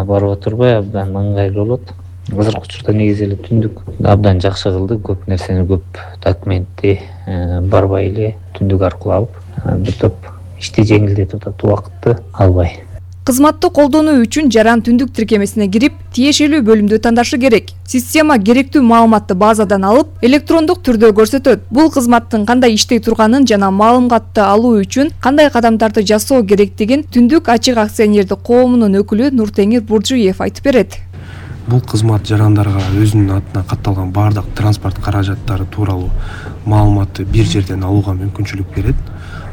барып отурбай абдан ыңгайлуу болот. Азыркы учурда негизи эле түндүк абдан жакшы кылды. Көп нерсени, көп документти барбай эле түндүк аркылуу алып бир топ ишти жеңилдетип атат, убакытты албай. Кызматты колдонуу үчүн жаран түндүк тиркемесине кирип, тиешелүү бөлүмдү тандашы керек. Система керектүү маалыматты базадан алып, электрондук түрдө көрсөтөт. Бул кызматтын кандай иштей турганын жана маалыматты алуу үчүн кандай кадамдарды жасоо керектигин Түндүк ачык акционердик коомунун өкүлү Нуртеңир Буржуев айтып берет. Бул кызмат жарандарга өзүнүн атына катталган бардык транспорт каражаттары тууралуу маалыматты бир жерден алууга мүмкүнчүлүк берет.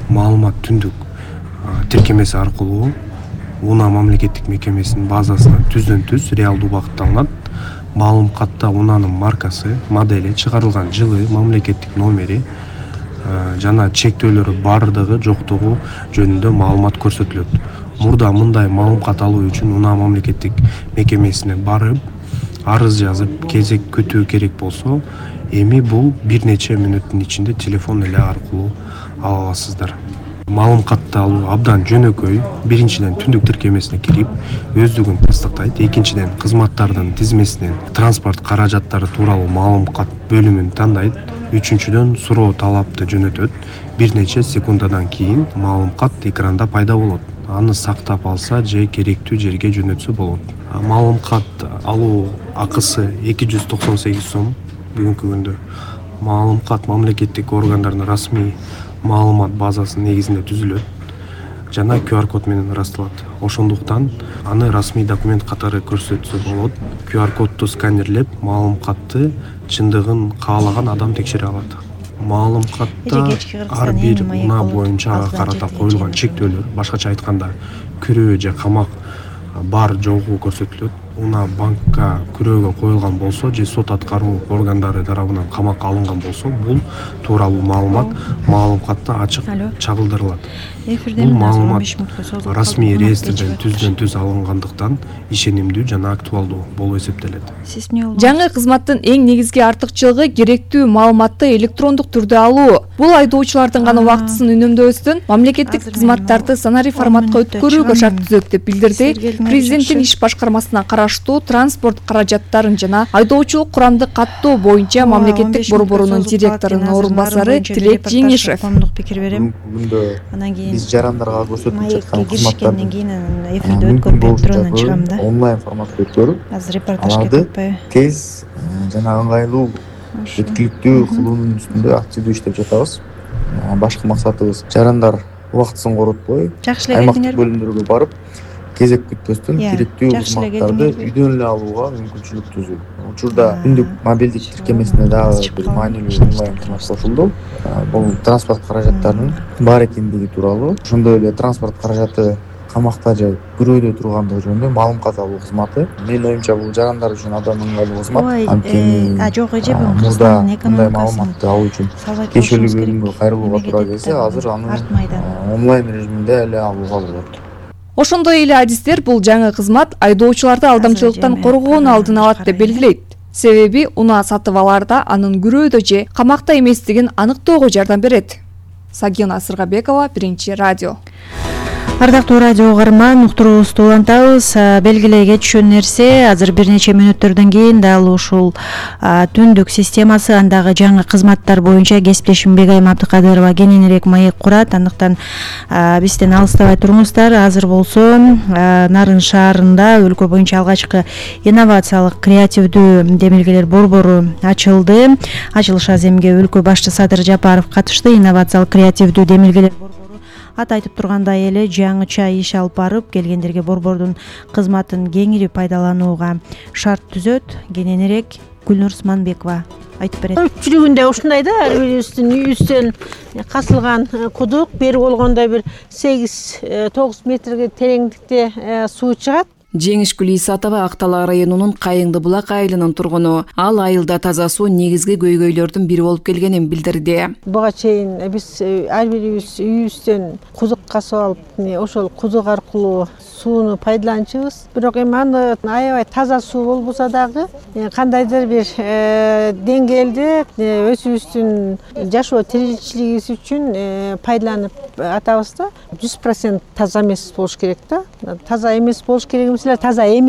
Маалымат түндүк тиркемеси аркылуу УНА мамлекеттик мекемесинин базасынан түздөн-түз реалдуу убакытта алынат. Маалым катта УНАнын маркасы, модели, чыгарылган жылы, мамлекеттик номери жана чектөөлөрү бардыгы жоктугу жөнүндө маалымат көрсөтүлөт. Мурда мындай маалым кат алуу үчүн УНА мамлекеттик мекемесине барып, арыз жазып, кезек күтүү керек болсо, эми бул бир нече мүнөттүн ичинде телефон эле аркылуу ала аласыздар. Маалым катты алуу абдан жөнөкөй. Биринчиден түндүк тиркемесине кирип, өздүгүн тастыктайт. Экинчиден кызматтардын тизмесинен транспорт каражаттары тууралуу маалым кат бөлүмүн тандайт. Үчүнчүдөн суроо талапты жөнөтөт. Бир нече секундадан кийин маалым кат экранда пайда болот. Аны сактап алса же керектүү жерге жөнөтсө болот. Маалым кат алуу акысы 298 сом бүгүнкү күндө. Маалым кат мамлекеттик органдардын расмий маалымат базасынын негизинде түзүлөт жана QR код менен ырасталат. Ошондуктан аны расмий документ катары көрсөтсө болот. QR кодду сканерлеп, маалым катты чындыгын каалаган адам текшере алат. Маалым катта ар бир УНА боюнча ага карата коюлган чектөөлөр, башкача айтканда, күрөө же камак бар жогу көрсөтүлөт. УНА банкка күрөөгө коюлган болсо же сот аткаруу органдары тарабынан камакка алынган болсо, бул тууралуу маалымат маалым катта ачык чагылдырылат. Бул маалымат расмий реестрден түздөн-түз алынгандыктан ишенимдүү жана актуалдуу болуп эсептелет. Жаңы кызматтын эң негизги артыкчылыгы керектүү маалыматты электрондук түрдө алуу. Бул айдоочулардын гана убактысын үнөмдөбөстөн, мамлекеттик кызматтарды санари форматка өткөрүүгө шарт түзөт деп билдирди Президенттин иш башкармасына караштуу транспорт каражаттарын жана айдоочулук курамды каттоо боюнча мамлекеттик борборунун директорунун орун басары Тилек Жеңишев. Биз жарандарга көрсөтүп жаткан кызматтардын эфирде өткөрүп туруп чыгам да. Онлайн форматта өткөрүп, азыр репортажга кетпей тез жана ыңгайлуу жеткиликтүү кылуунун үстүндө активдүү иштеп жатабыз. Башкы максатыбыз жарандар убактысын коротпой, аймактык бөлүмдөргө барып, кезек күтпөстөн керектүү кызматтарды үйдөн эле алууга мүмкүнчүлүк түзүү. Учурда түндүк мобилдик тиркемесине дагы бир маанилүү онлайн кызмат кошулду. Бул транспорт каражаттарынын бар экендиги тууралуу, ошондой эле транспорт каражаты камакта же күрөөдө тургандыгы жөнүндө маалым кат алуу кызматы. Менин оюмча бул жарандар үчүн абдан ыңгайлуу кызмат. Анткени мурда мындай маалыматты алуу үчүн кешелүү бөлүмгө кайрылууга туура келсе, азыр аны онлайн режиминде эле алууга болот. Ошондой эле адистер бул жаңы кызмат айдоочуларды алдамчылыктан коргоонун алдын алат деп белгилейт. Себеби УНА сатып алаарда анын күрөөдө же камакта эместигин аныктоого жардам берет. Сагина Сыргабекова, Биринчи радио. Ардактуу радио угарман, уктуруубузду улантабыз. Белгилей кетишкен нерсе, азыр бир нече мүнөттөрдөн кийин дал ушул түндүк системасы, андагы жаңы кызматтар боюнча кесиптешим Бегайым Абдыкадырова кененирээк маек курат. Андыктан бизден алыстабай туруңуздар. Азыр болсо Нарын шаарында өлкө боюнча алгачкы инновациялык креативдүү демилгелер борбору ачылды. Ачылыш аземге өлкө башчы Садыр Жапаров катышты. Инновациялык креативдүү демилгелер борбору ат айтып тургандай эле жаңыча иш алып барып, келгендерге борбордун кызматын кеңири пайдаланууга шарт түзөт. Кененирээк Гүлнур Усманбекова айтып берет. Көпчүлүгүндө ушундай да, ар бирибиздин үйүбүздөн касылган кудук, бери болгондо бир 8-9 метрге тереңдикте суу чыгат. Жеңишгүл Исатова Актала районунун Кайыңды булак айылынын тургуну. Ал айылда таза суу негизги көйгөйлөрдүн бири болуп келгенин билдирди. Буга чейин биз ар бирибиз үйүбүздөн кудук казып алып, ошол кудук аркылуу сууну пайдаланчубуз. Бирок эми аны аябай таза суу болбосо дагы кандайдыр бир деңгээлде өзүбүздүн жашоо тиричилигибиз үчүн пайдаланып атабыз да. 100% таза эмес болуш керек да. Таза эмес болуш керек эмес эле, таза эмес